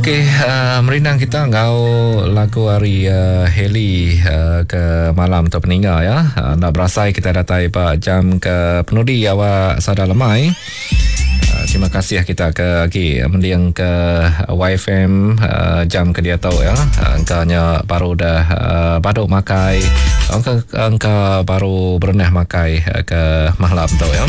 Okey, uh, merindang kita enggau lagu hari uh, Haley uh, ke malam tu peninga ya. Uh, nak berasai kita datai ba jam ke penudi awak sada lemai. Uh, terima kasih kita ke agi mending ke YFM uh, jam ke dia tau ya. Uh, engkanya baru dah uh, baduk makai. Engka, engka baru berenah makai uh, ke malam tu ya.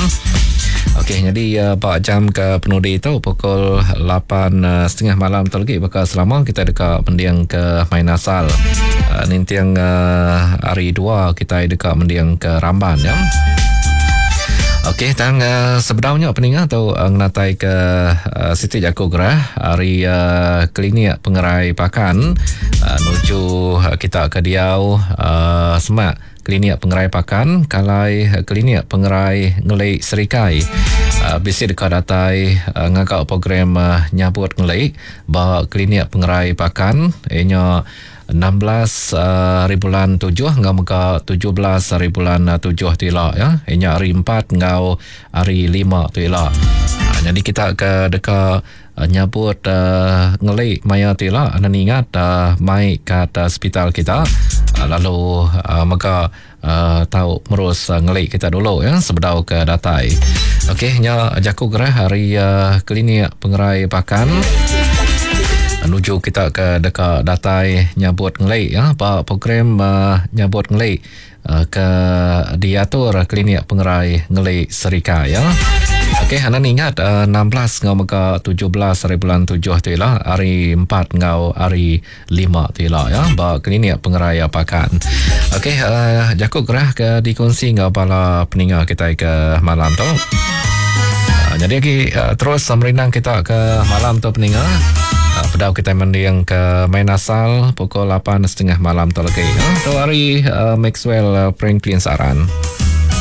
Okey, jadi uh, ba jam ke penudi tu pukul 8.30 malam tu lagi baka selama kita deka mending ke main asal. Uh, ninting uh, hari 2 kita deka mending ke Ramban ya. Okey, tang uh, sebedaunya peninga tu uh, ngenatai ke uh, Siti Jaku Gerah hari uh, klinik pengerai pakan uh, nuju uh, kita ke diau uh, semak Klinik Pengerai Pakan, Kalai Klinik Pengerai Ngelik Serikai bisi deka datai ngaga program nyabut ngelik ba Klinik Pengerai Pakan iya nya 16 hari bulan tujuh enggau mega 17 hari bulan tujuh tu ila ya. Iya nya hari empat enggau hari lima tu ila. Nyadi kita ke deka Nyabut ngeli maya ti ila enda ningat mai kad sepital kita lalu mega tau merus ngeli kita dulu ya sebedau ke datai. Okey nya jaku gerah ari klinik pengerai Pakan nuju kita ke deka datai nyabut ngeli ya ba program nyabut ngeli ke diatur klinik pengerai ngeli Serikai ya. Okey, anda ingat 16 ngau mega 17 hari bulan 7 tu ila hari 4 ngau hari 5 tu ila ya ba klinik pengerai Pakan. Okey, uh, jaku gerah ke dikongsi ngau bala peninga kita ke malam tu. Uh, jadi lagi uh, terus merindang kita ke malam tu peninga. Uh, pedau kita mending ke main asal pukul 8.30 malam tu lagi. Uh, tu hari uh, Maxwell uh, Franklin Saran.